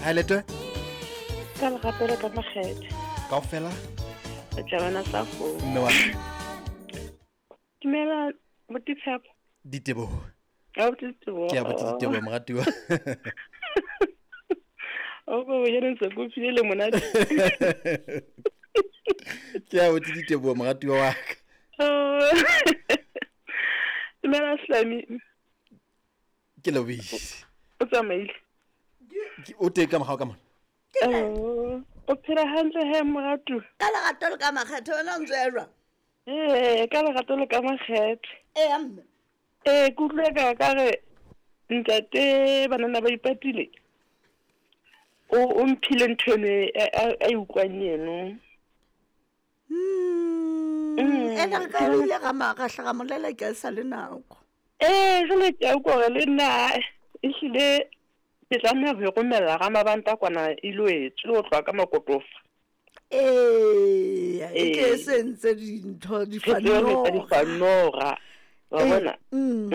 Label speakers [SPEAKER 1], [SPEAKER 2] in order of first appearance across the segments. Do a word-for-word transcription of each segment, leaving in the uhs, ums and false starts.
[SPEAKER 1] Ha letwe?
[SPEAKER 2] Ka lerato le ka makgethe.
[SPEAKER 1] Kaofela?
[SPEAKER 2] Re tla bona sa fo.
[SPEAKER 1] Mme wa ka.
[SPEAKER 2] Dumela Botitshepo.
[SPEAKER 1] Diteboho.
[SPEAKER 2] A Botitshepo.
[SPEAKER 1] Ke a Botitshepo moratuwa.
[SPEAKER 2] O go yena ntse go file le monate.
[SPEAKER 1] Ke a Botitshepo moratuwa wa ka.
[SPEAKER 2] Dumela Slami.
[SPEAKER 1] Ke lobisi.
[SPEAKER 2] O tsamaile.
[SPEAKER 1] O teng ka mogao ka mona.
[SPEAKER 2] O phela hantle he moratu.
[SPEAKER 3] Ka lerato le ka makgethe wena o ntse ya jwang?
[SPEAKER 2] Ee, ka lerato le ka makgethe.
[SPEAKER 3] Ee mme.
[SPEAKER 2] Ee, ke utlwe ka ka re ntate banana ba ipatile. O o mphile ntho eno a e utlwang eno.
[SPEAKER 3] Mm. Ene re ka ile ga ma ga hlaga molela ke sa le nako.
[SPEAKER 2] Ee, jwale ke a utlwa hore le nna ehlile ke tlameha ho e romella ga mabanta kwana e lo etswe ho tloha ka makotofa.
[SPEAKER 3] Ee, e ke sentse dintho di fanora.
[SPEAKER 2] Di fanora. Wa bona? Mm.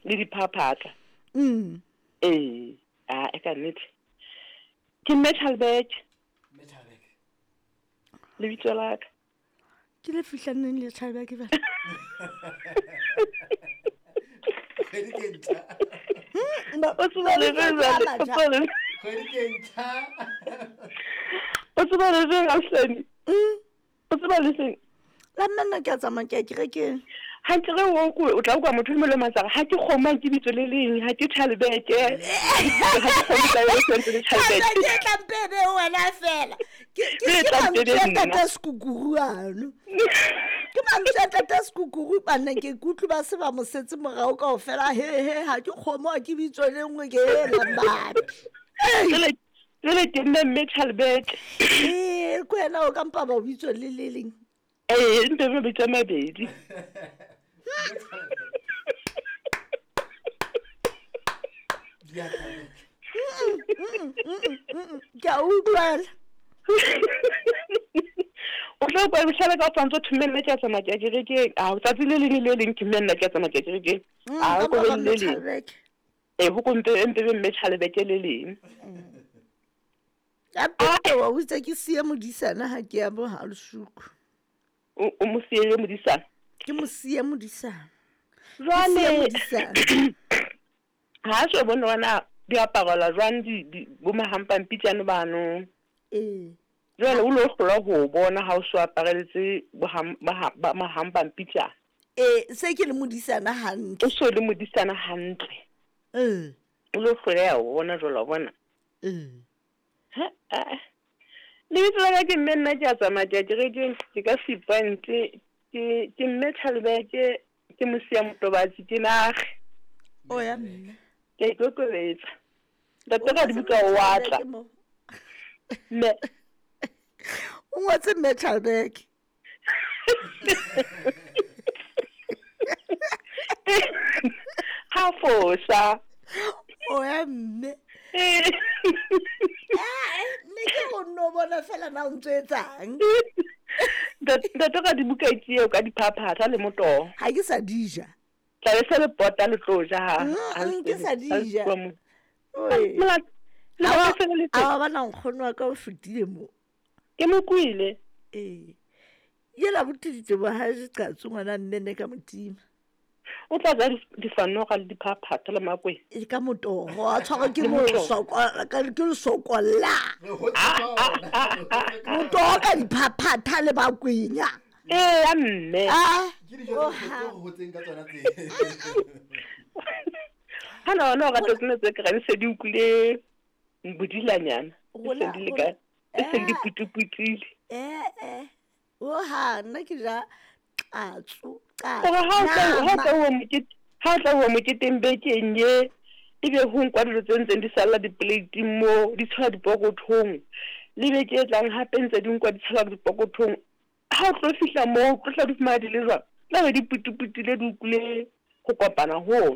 [SPEAKER 2] Le diphaphatha.
[SPEAKER 3] Mm.
[SPEAKER 2] Ee, a e ka nnete. Ke Metalback.
[SPEAKER 1] Metalback.
[SPEAKER 2] Lebitso la ka.
[SPEAKER 3] Ke le fihlaneng le Chalback ba.
[SPEAKER 1] Kgwedi ke ntjha.
[SPEAKER 2] O tseba le jwale.
[SPEAKER 1] Kgwedi ke ntjha.
[SPEAKER 2] O tseba le jwang Aslani? O tseba le seng?
[SPEAKER 3] La nna ke a tsamaya ke ya kerekeng.
[SPEAKER 2] Hantle re o ko o tla utlwa motho e mong le matsara ha ke kgoma ke bitso le leng ha ke Chalback. Ha ke kgoma ka yona sentse le Chalback.
[SPEAKER 3] Ke tla mpebe wena fela. Ke ke ke tata sekukuru ano. Ke mantswe a tata sekukuru bana ke kutlwe ba se ba mo setse morao kaofela he he ha ke kgomo ke bitso le nngwe ke ela mbapi.
[SPEAKER 2] Jwale jwale ke nna mme Chalback.
[SPEAKER 3] Ee, ko wena o ka mpa ba bitso le le leng.
[SPEAKER 2] Ee, mpe mabitso a mabedi.
[SPEAKER 3] Ke a utlwela.
[SPEAKER 2] O tla kwa bohlale ka tshwantse o thome nna ke a tsamaya ke ya kerekeng. A tsatsi le leng le leng ke mme nna ke a tsamaya ke ya kerekeng. A ko be le leng. Ee, ho ko mpe mpe mme Chalback le leng.
[SPEAKER 3] Ya pete wa o itse ke siye modisana ha ke ya bo ha lesuku.
[SPEAKER 2] O mo siye modisana.
[SPEAKER 3] Ke mo siye modisana.
[SPEAKER 2] Jwale ha so bona wana diaparo la jwang di bo mahampampitjane bano.
[SPEAKER 3] Ee.
[SPEAKER 2] Jwale o lo hlola ho bona ha o so apareletse ba mahampampitjane.
[SPEAKER 3] Ee, se ke le modisana hantle.
[SPEAKER 2] O so le modisana hantle.
[SPEAKER 3] Ee.
[SPEAKER 2] O lo hlola ho bona jwale wa bona.
[SPEAKER 3] Ee.
[SPEAKER 2] Ha a. Lebitso la ka ke mme nna ke a tsamaya ke ya kerekeng ke ka Sepoint ke ke mme Chalback ke mosia motobatsi ke nage.
[SPEAKER 3] O ya mme.
[SPEAKER 2] Ke a ikokobetsa. Ntate ka dibuka o atla. Mme.
[SPEAKER 3] O ngotse mme Chalback.
[SPEAKER 2] Ha fosa.
[SPEAKER 3] O ya mme. Eh, ne ke go nno bona fela na o ntse etsang.
[SPEAKER 2] Ntate ka dibuka ke eo ka diphaphatha le motoho.
[SPEAKER 3] Ha ke sa di ja.
[SPEAKER 2] Tla be se le pota le tlo ja ha.
[SPEAKER 3] Ke sa di ja. A ba na nkgono wa ka o fetile mo.
[SPEAKER 2] Ke mo kwile.
[SPEAKER 3] Ee. Yela botiditse bo ha je qatso ngwana mme ne ka motima.
[SPEAKER 2] O tla ja difanoga le diphaphatha le makweng.
[SPEAKER 3] E ka motoho a tshwarwa ke mosokola ka ke lesokolla. Motoho ka diphaphatha le makwenya.
[SPEAKER 2] Ee ya mme.
[SPEAKER 3] Ah.
[SPEAKER 1] Ke dijo tse go hotseng ka tsona tse.
[SPEAKER 2] Ha no no ga tsene tse ke ga se di utlwile bodilanyana. Se di le ka se di putuputile.
[SPEAKER 3] Eh eh. O ha nna ke ja qatso.
[SPEAKER 2] Gore ha o mokete ha tla o moketeng bekeng ye ebe ho nkwa dilo tse ntseng di salla di-plate-ing mo di tshwara dipokothong le beke e tlang hape ntse di nkwa di tshwara dipokothong ha o tlo fihla moo o tlo tla di fumana di le jwang tla be di putuputile di utlwile go kopana hono.